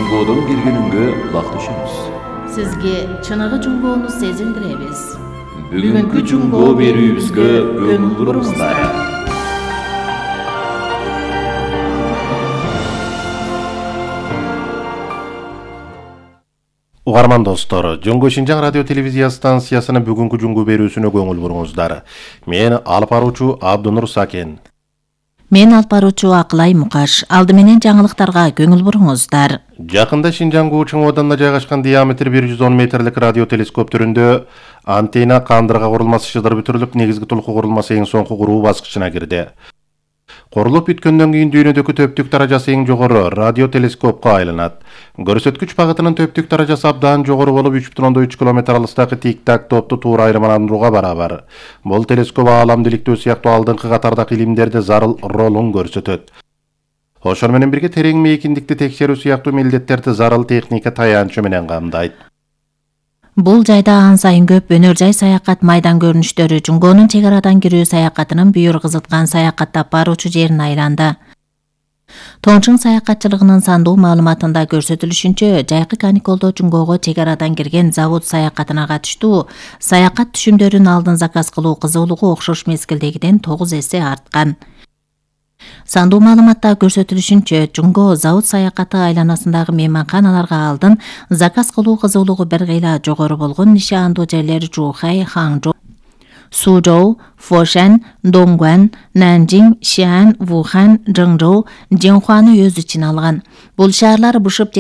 Жунгодон келгениңге улакташабыз. Сизге чыныгы жунгоону сезилдиребиз. Бүгүнкү жунгоо берүүбүзгө көңүл буруңуздар. Угарман достор, Жоңго Шинжаң радио телевизия станциясынын бүгүнкү жунгу берүүсүнө көңүл буруңуздар. Мен алып баруучу Абдунур Сакен. Мен алып баруучу Акылай Мукаш. Алды менен жаңылыктарга көңүл буруңуздар. Жакында Шинжаңгуу чоң ооданда жайгашкан диаметри 110 метрлик радио телескоп түрүндө антенна кандырга курулмасы шыдыр бүтүрүлүп, негизги толку курулмасы эң соңку куруу баскычына кирди. Курулуп бүткөндөн кийин дүйнөдөгү төптүк даражасы эң жогору радио телескопко айланат. Көрсөткүч багытынын төптүк даражасы абдан жогору болуп 3,3 км алыстагы тик-так топту туура айырмаландырууга барабар. Бул телескоп ааламдиликтөө сыяктуу алдыңкы катардагы илимдерде зарыл ролун көрсөтөт. Ошол менен бирге терең мейкиндикти текшерүү сыяктуу милдеттерди зарыл техника таянчы менен камдайт. Бул жайда ан сайын көп өнөр жай саякат майдан көрүнүштөрү жунгоонун чек арадан кирүү саякатынын бүйүр кызыткан саякаттап баруучу жерин айланды. Тоңчуң саякатчылыгынын сандуу маалыматында көрсөтүлүшүнчө, жайкы каникулдо жунгоого чек арадан кирген завод саякатына катыштуу саякат түшүмдөрүн алдын заказ кылуу кызуулугу окшош мезгилдегиден 9 эсе арткан. Сандуу маалыматта көрсөтүлүшүнчө, жунгоо завод саякаты айланасындагы мейманканаларга алдын заказ кылуу кызуулугу бир кыйла жогору болгон нишандуу жерлер Жухай, Ханчжоу, Сузhou, Фошан, Донгуан, Нанжиң, Шиан, Вухан, Жыңжоу, Жеңхуаны өз ичине алган. Бул шаарлар бушуп